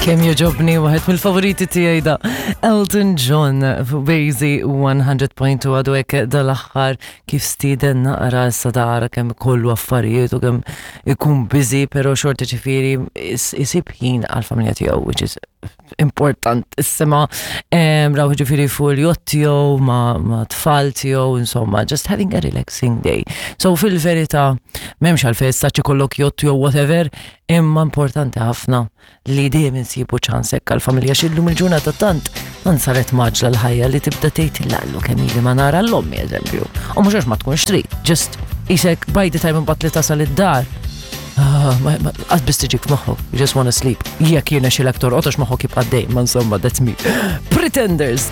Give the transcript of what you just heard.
Kemm joġobni waħed mill-favoriti tiegħi da Elton John fuq Bazy 100.2 għadu hekk dal-aħħar kif stieden naqra issa tara kemm kollu affarijiet u kemm ikun busy però xorta ġifieri isib ħin għall-familja tiegħu which is importantissima. Raw ġifieri fuq il-jott tiegħu ma' tfal tiegħu insomma just having a relaxing day. So fil-verità m'hemmx għalfejn issa ikollok jott jew whatever imma importanti ħafna li dejjem insibu ċans hekk għall-familja x'illum il-ġurnata tant tant saret maġla l-ħajja li tibda tgħid lallu kemm ili ma nara l-ommi eżempju. U mhux għax ma tkunx trid, just isek by the time imbagħad li tasal id-dar. Ah, qatt biss tiġik f'moħħok, you just wanna sleep. Jekk jiena xi lektor għax moħħok jibqa' dejjem, ma insomma, that's me. Pretenders!